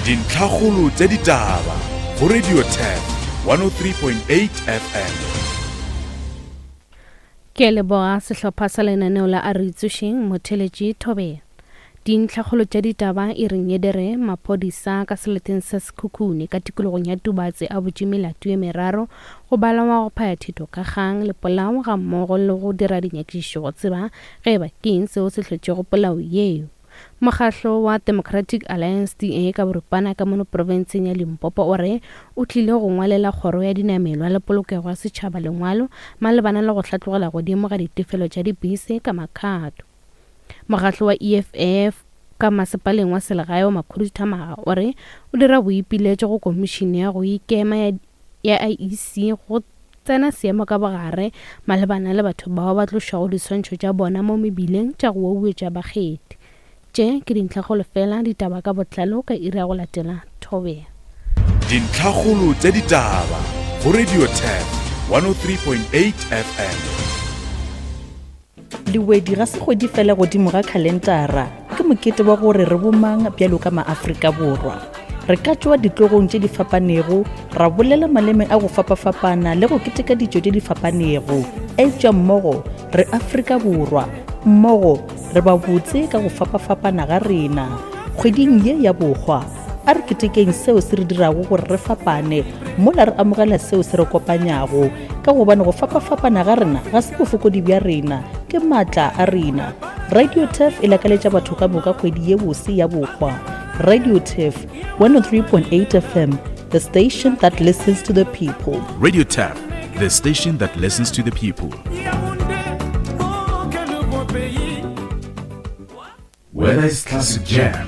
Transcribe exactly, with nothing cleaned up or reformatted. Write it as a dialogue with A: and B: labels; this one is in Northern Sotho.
A: Dintlhakgolo tša ditaba go Radio Turf one oh three point eight F M.
B: Ke leboga sehlopha sa lenaneo la A Re Itsošeng motheletši Thobela. Dintlhakgolo tša ditaba e reng edere maphodisa ka seleteng sa Sekhukhune ka tikologong ya Tubatse a butše melato ye meraro go balawa go phaya thito ka kgang le polao ga mmogo le go dira dinyakišišo go tseba ge eba ke eng seo se hlotšego polao yeo. Mokgahlo wa Democratic Alliance D A ka boripana ka mono profenseng ya Limpopo o re o tlile go ngwalela kgoro ya dinamelwa le polokego ya setšhaba lengwalo malebana le go hlatlogela godimo ga ditefelo tša dibese ka makgato. Mokgahlo wa E F F ka masepaleng wa selegae wa Makhuduthamaga o re o dira boipiletšo go komišene ya go ikema ya, ya I E C go tsena seemo ka bogare malebana le batho bao ba tlošago diswantšho tša bona mo mebileng tša go wauwetša bakgethi. Tše ke dintlhakgolo fela, ditaba ka botlalo ka iri ya go latela Thobela.
A: Dintlhakgolo tša ditaba go Radio Turf one oh three point eight F M.
C: Lewedi ga se kgwedi fela godimo ga khalentara, ke mokete wa gore re bomang bjalo ka maAfrika Borwa. Re ka tšwa ditlogong tše di fapanego, ra bolela maleme a go fapafapana le go keteka ditšo tše di fapanego. Eupša mmogo re Afrika Borwa, mmogo re ba botse ka go fapafapana ga rena. Kgweding ye ya bohwa, a re ketekeng seo se re dirago gore re fapane, mola re amogela seo se re kopanyago, ka gobane go fapafapana ga rena ga se bofokodi bja rena, ke maatla a rena. Radio Turf e lakaletša batho ka moka kgwedi ye bose ya bohwa. Radio Turf one oh three point eight F M, the station that listens to the people.
A: Radio Turf, the station that listens to the people. Whether it's classic jam,